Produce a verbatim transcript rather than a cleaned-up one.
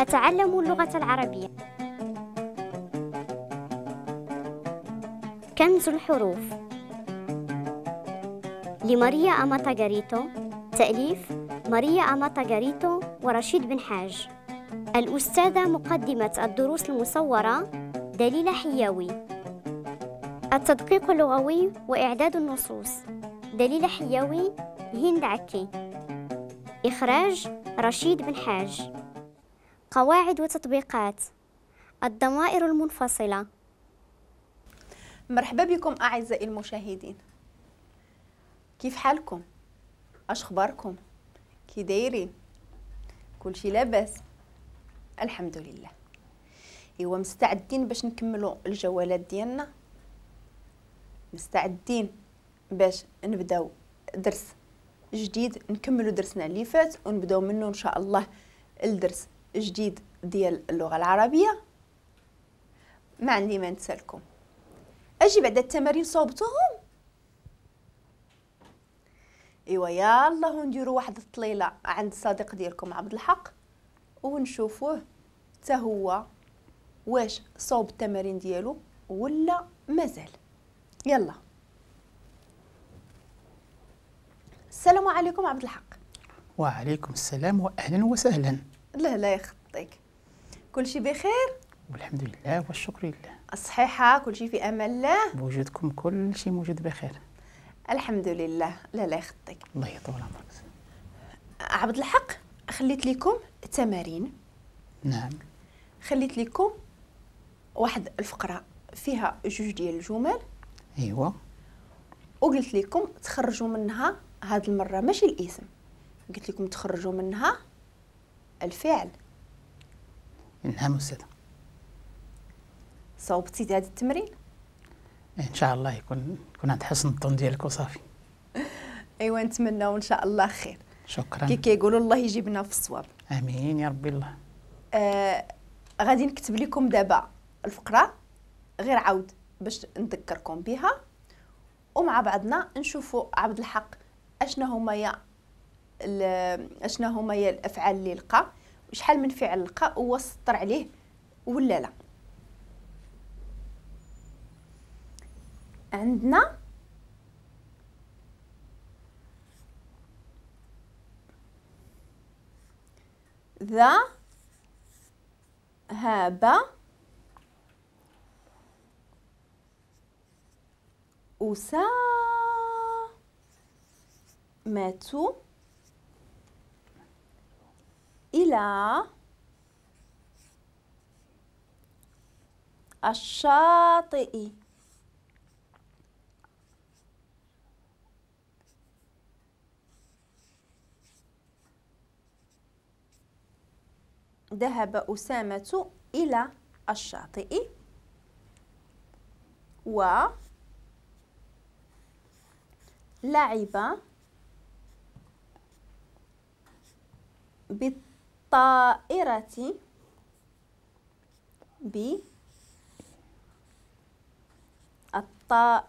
نتعلم اللغة العربية. كنز الحروف لماريا أماتا غاريتو، تأليف ماريا أماتا غاريتو ورشيد بن حاج. الأستاذة مقدمة الدروس المصورة دليلة حياوي. التدقيق اللغوي وإعداد النصوص دليلة حياوي، هند عكي. إخراج رشيد بن حاج. قواعد وتطبيقات الضمائر المنفصلة. مرحبا بكم أعزائي المشاهدين، كيف حالكم؟ اش اخباركم؟ كي دايرين؟ كلشي لاباس؟ الحمد لله. ايوا مستعدين باش نكملوا الجولات ديالنا؟ مستعدين باش نبداو درس جديد، نكملوا درسنا اللي فات ونبداو منه ان شاء الله الدرس جديد ديال اللغة العربية. ما عندي ما نتسالكم. اجي بعد التمارين صوبتوهم؟ ايوا يالله نديروا واحد الطليله عند الصديق ديالكم عبد الحق ونشوفوه حتى هو واش صوب التمارين ديالو ولا مازال. يلا السلام عليكم عبد الحق. وعليكم السلام واهلا وسهلا. لا لا يخطيك، كلشي بخير والحمد لله والشكر لله. الصحيحة كلشي في امان الله، بوجودكم كلشي موجود بخير الحمد لله. لا لا يخطيك، الله يطول عمرك. عبد الحق خليت لكم تمارين. نعم خليت لكم واحد الفقرة فيها جوج ديال الجمل. ايوا وقلت لكم تخرجوا منها هاد المرة ماشي الاسم، قلت لكم تخرجوا منها الفعل. نعم استاذه. صوبتي هذا التمرين؟ ان شاء الله يكون يكون عند حسن الظن ديالك وصافي. ايوا نتمناو ان شاء الله خير. شكرا. كي كيقولوا الله يجيبنا في الصواب. امين يا ربي الله. آه غادي نكتب لكم دابا الفقرة غير عاود باش نذكركم بها، ومع بعضنا نشوفوا عبد الحق اشنا هما يا اشنا هما يا الافعال اللي لقى، وشحال من فعل لقى وسطر عليه ولا لا. عندنا ذهب أسامة إلى الشاطئ. ذهب أسامة إلى الشاطئ و لعب بالطائرة بالطائرة